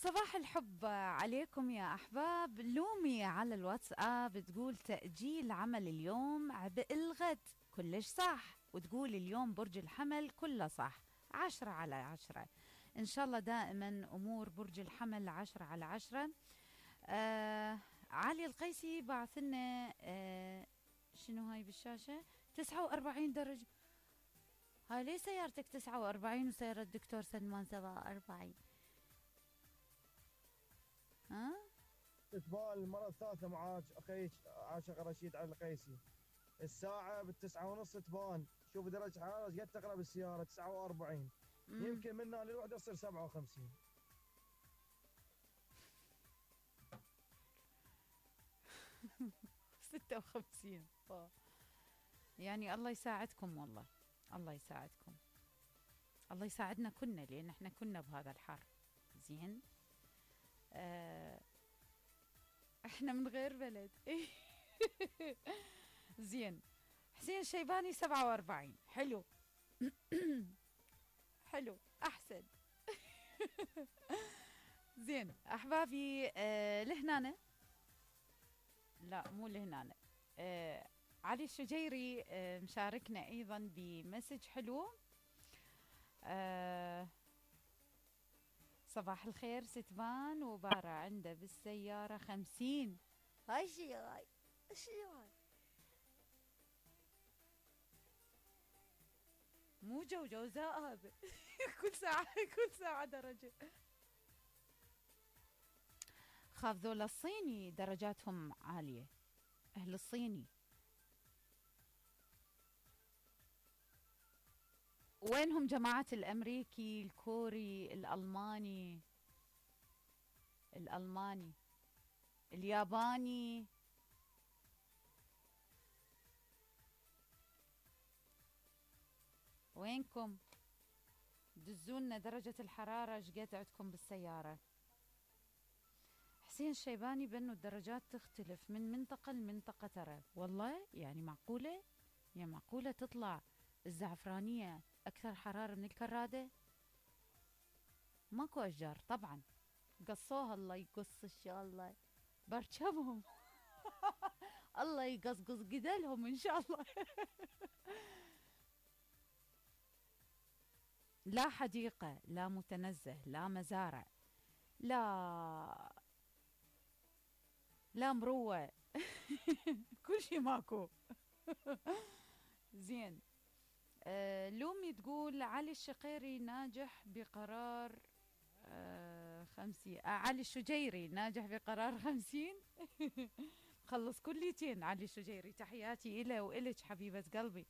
صباح الحب عليكم يا أحباب. لومي على الواتساب تقول تأجيل عمل اليوم عبء الغد كلش صح، وتقول اليوم برج الحمل كله صح. 10/10. إن شاء الله دائما أمور برج الحمل 10/10. علي القيسي بعثلنا شنو هاي بالشاشة؟ 49 درجة. هاي ليه سيارتك 49 وسيارة الدكتور سلمان 47؟ ها؟ إقبال المرة الثالثة معاك أخيك عاشق رشيد علي القيسي. الساعة ب9:30 تبان. شوف درجة الحرارة قد تقرأ بالسيارة 49. يمكن منها للوحدة تصير 57. ستة وخمسين. يعني الله يساعدكم، والله الله يساعدكم، الله يساعدنا كنا، لأن احنا كنا بهذا الحر. زين. احنا من غير بلد. زين. حسين شيباني 47. حلو. حلو أحسن. زين أحبابي. لهنا، لا مو لهنا. علي الشجيري مشاركنا أيضا بمسج حلو. صباح الخير ستبان وبارة عنده بالسيارة 50. هاي شي هاي مو جوزاء هذا. كل ساعة درجة. خاف ذولا الصيني درجاتهم عالية، أهل الصيني. وينهم جماعة الأمريكي الكوري الألماني الياباني؟ وينكم؟ دزونا درجة الحرارة شقد عندكم بالسيارة. حسين الشيباني بأنه الدرجات تختلف من منطقة لمنطقة، ترى والله يعني معقولة؟ يعني معقولة تطلع الزعفرانية أكثر حرارة من الكرادة؟ ماكو أشجار طبعا، قصوها الله يقص إن شاء الله برشمهم. الله يقصقص قدلهم إن شاء الله. لا حديقة، لا متنزه، لا مزارع، لا مروة. كل شي ماكو. زين. لومي تقول علي الشقيري ناجح بقرار 50. علي الشجيري ناجح بقرار 50. خلص كليتين علي الشجيري. تحياتي إله وإلك حبيبة قلبي.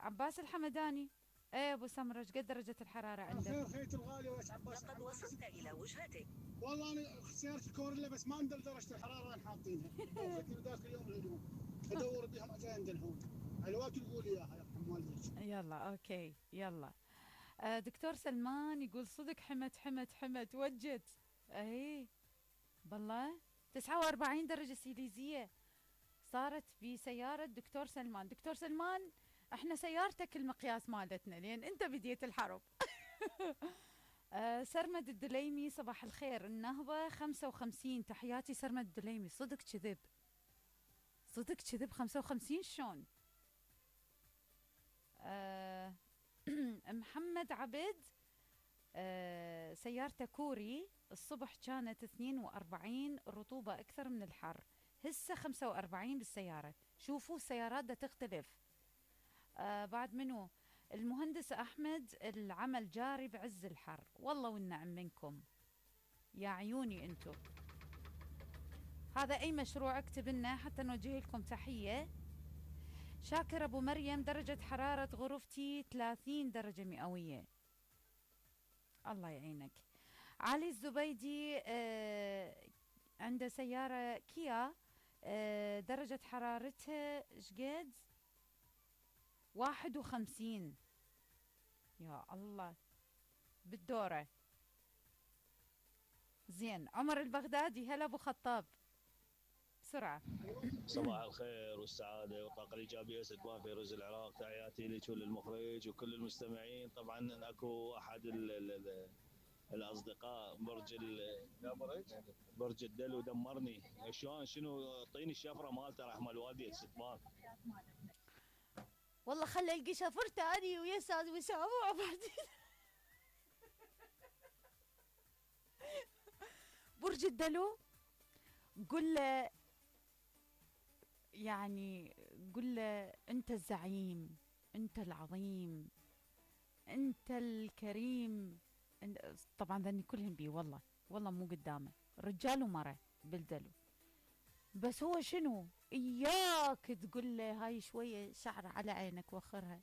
عباس الحمداني. ايه ابو سمرة، قد درجة الحرارة عندك؟ خير خيت الغالي ويش عباس. لقد وصلت إلى وجهتك. والله انا سيارتي الكوريلا بس ما ندري درجة الحرارة وين حاطينها. ضافتني ذاك اليوم الهدوم ادور بهم عشان عندهم. الوقت تقول اياها يرحم والديك. يلا اوكي يلا. دكتور سلمان يقول صدق حمت وجت. اي بالله 49 درجة سيليزية صارت بسيارة دكتور سلمان. دكتور سلمان احنا سيارتك المقياس مالتنا لين انت بديت الحرب. سرمد الدليمي صباح الخير. النهضة 55. تحياتي سرمد الدليمي. صدق كذب 55 شلون؟ محمد عبد سيارته كوري الصبح كانت 42 رطوبة أكثر من الحر، هسه 45 بالسيارة. شوفوا السيارات دا تختلف. بعد منو؟ المهندس أحمد العمل جاري بعز الحر. والله والنعم منكم يا عيوني انتو. هذا أي مشروع اكتب لنا حتى نوجه لكم تحية. شاكر أبو مريم درجة حرارة غرفتي 30 درجة مئوية. الله يعينك. علي الزبيدي عنده سيارة كيا درجة حرارتها شقد 51. يا الله بالدورة. زين. عمر البغدادي هلا ابو خطاب بسرعة. صباح الخير والسعادة والطاقة الإيجابية ستبان فيروز العراق. تحياتي لك وللمخرج وكل المستمعين. طبعا أكو أحد الاصدقاء برج الدلو دمرني. شلون شنو اعطيني الشفره مالته رحمه الوالدي ستمان. والله خلي القي شفرته اني ويا استاذ وسام مع بعضين. برج الدلو قل له، يعني قل له انت الزعيم، انت العظيم، انت الكريم. طبعا ذني كلهن بي والله، والله مو قدامه رجال ومرة بالدلو. بس هو شنو اياك تقول له هاي شويه شعر على عينك وخرها.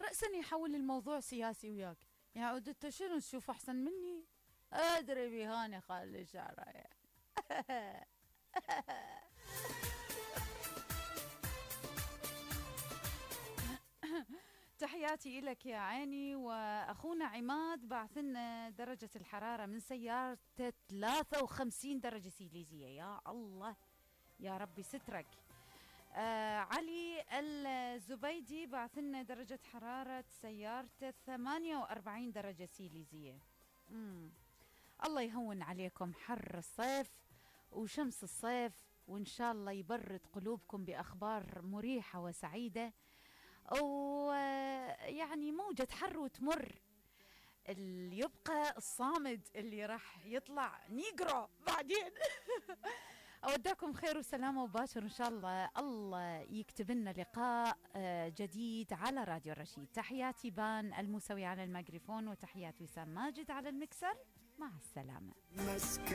رأسا يحول الموضوع سياسي وياك، يعني انت شنو تشوف احسن مني؟ ادري بهاني خلي شعرها. تحياتي إلك يا عيني. وأخونا عماد بعثلنا درجة الحرارة من سيارته 53 درجة سيليزية. يا الله يا ربي سترك. علي الزبيدي بعثلنا درجة حرارة سيارته 48 درجة سيليزية. الله يهون عليكم حر الصيف وشمس الصيف، وإن شاء الله يبرد قلوبكم بأخبار مريحة وسعيدة، ويعني موجة حر وتمر. اللي يبقى الصامد اللي راح يطلع نيجرو بعدين. أوداكم خير وسلامة وباشر إن شاء الله. الله يكتب لنا لقاء جديد على راديو الرشيد. تحياتي بان الموسوي على الميكروفون، وتحيات وسام ماجد على المكسر. مع السلامة.